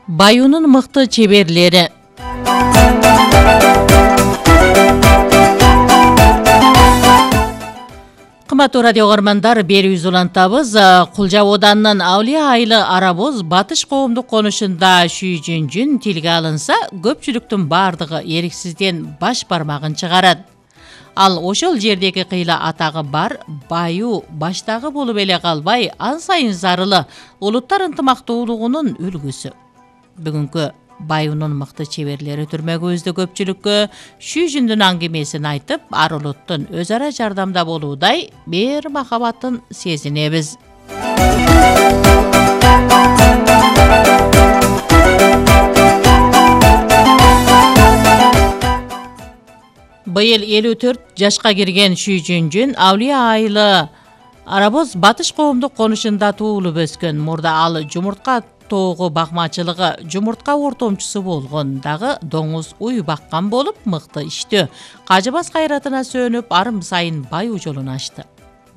Баюунун мыкты чеберлери. Кымбаттуу радио көрөрмандар, берүүбүз улантабыз. Кулжа Оданынын Авлия айылы Арабоз Батыш коомдук конушунда Шүйжүнжүн тилге алынса, көпчүлүктүн бардыгы эриксизден баш бармагын чыгарат. Ал ошол жердеги кыйла атагы бар баю баштагы болуп эле калбай, ан сайын зарылы улуттар ынтымактуулугунун үлгүсү. Бүгүнкү Баюунун мыкты чеберлери түрмөгүбүздө көпчүлүккө Шүйжүндүн аңгемесин айтып, ар улуттун өз ара жардамда болуудай мээр махабатын сезинебиз. Быйыл 54 жашка кирген Шүйжүнжүн Авлия айылы Арабоз Батыш коомдук конушунда туулуп өскөн. Мурда ал жумуртка тоого бакмачылыгы, жумуртка ортомчусу болгон, дагы доңуз уй баккан болуп, мыкты иштөө, кажыбас кайратына сөнүп, арым сайын баюу жолун ачты.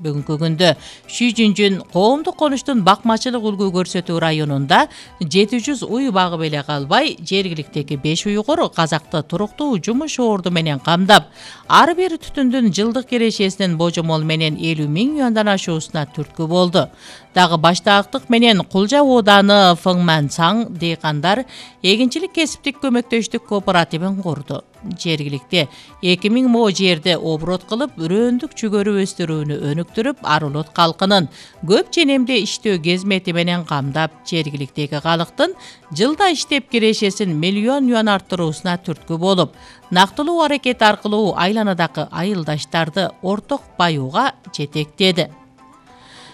Бүгүнкү күндө Шүйжүнжүн коомдук конуштун бакмачылык үлгү көрсөтүү районунда 700 уй багып эле калбай, жергиликтеги 5 уйгур казакты туруктуу жумуш орду менен камдап, ар бир түтүндүн жылдык кирешесинин божомол менен 50 000 юандан ашуусуна түрткү болду. Дагы баштаактык менен Кулжа Ооданы Фыңмансаң дейкандар эгинчилик кесиптик көмөктөштүк кооперативин курду. Жергиликте 2000 мо жерди оборот кылып, үрөөндүк жүгөрү өстүрүүнү өнүктүрүп, ар улут калкынын көп ченемде иштөө кезмети менен камдап, жергиликтеги калктын жылда иштеп кирешесин 1 миллион юан арттыруусуна түрткү болуп, нактылуу аракет аркылуу айланадагы айылдаштарды орток баюуга жетектеди.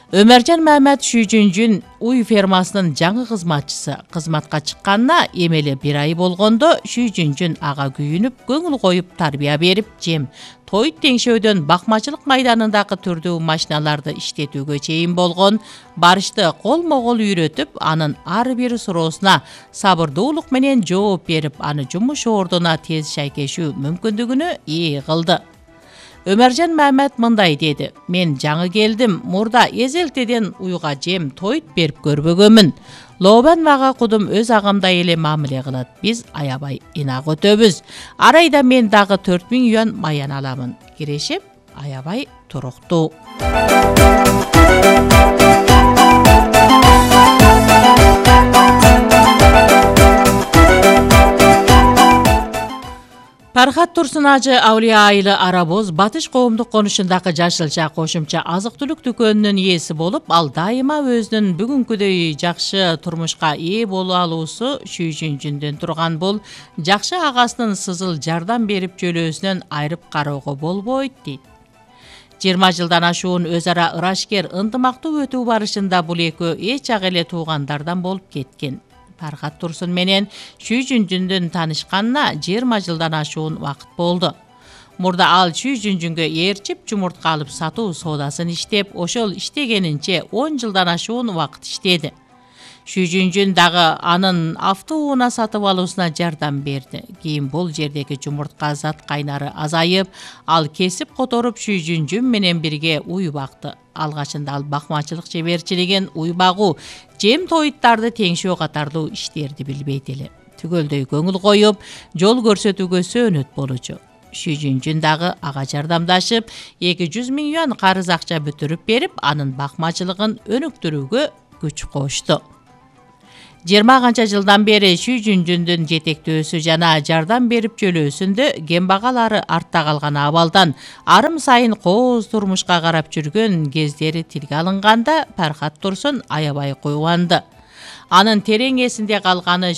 Өмөржан Мамат Шүйжүнжүн уй фермасынын жаңы кызматчысы. Кызматка чыкканына эмели 1 ай болгондо Шүйжүнжүн ага күйүнүп, көңүл коюп, тарбия берип, жем, той теңшөөдөн бакмачылык майданындагы түрдүү машиналарды иштетүүгө чейин болгон барышты колмо-кол үйрөтүп, анын ар бир суроосуна сабырдуулук менен жооп берип, аны жумуш ордуна тез шайкешүү мүмкүндүгүнө ээ кылды. Өмөржан Мамат мындай деди: "Мен жаңы келдим, мурда эзелтеден уйга жем тойт берип көрбөгөмүн. Лообан мага кудум өз агамдай эле мамиле кылат. Биз аябай инак өтөбүз. Ар айда мен дагы 4000 юан маян аламын. Кирешем аябай туруктуу." Пархат Турсун ажы Авлия айылы Арабоз Батыш коомдук конушундагы жашылча кошумча азык-түлүк дүкөнүнүн ээси болуп, ал дайыма өзүнүн бүгүнкүдөй жакшы турмушка ээ боло алуусу Шүйжүнжүндөн турган. Бул жакшы агасынын сызыл жардам берип жөлөөсүнөн айрып кароого болбойт дейт. 20 жылдан ашуун өз ара ырашкер, ынтымактуу өтүү барышында бул экөө эч жак эле туугандардан болуп кеткен. Пархат Турсун менен Шүйжүнжүндүн таанышканына 20 жылдан ашуун убакыт болду. Мурда ал Шүйжүнжүнгө ээрчип, жумуртка алып сатуу соодасын иштеп, ошол иштегенинче 10 жылдан ашуун убакыт иштеди. Шүйжүнжүн дагы анын автоунаа сатып алуусуна жардам берди. Кийин бул жердеги жумуртка зат кайнары азайып, ал кесип которуп Шүйжүнжүн менен бирге уй бакты. Алгачында ал бакмачылык чеберчилигин, уй багуу, жем тоyuттарды теңшөө катарлуу иштерди билбейт эле. Түгөлдөй көңүл коюп, жол көрсөтүүгө сөөнөт болчу. Шүйжүнжүн дагы ага жардамдашып, 200 000 юан карыз акча бүтүрүп берип, анын бакмачылыгын өнүктүрүүгө күч кошту. 20 канча жылдан бери Шүйжүнжүндүн жетектөөсү жана жардам берип жөлөөсүндө кембагалары артта калган абалдан арым сайын кооз турмушка карап жүргөн кездери тилге алынганда Пархат Турсун аябай кубанды. Анын терең эсинде калганы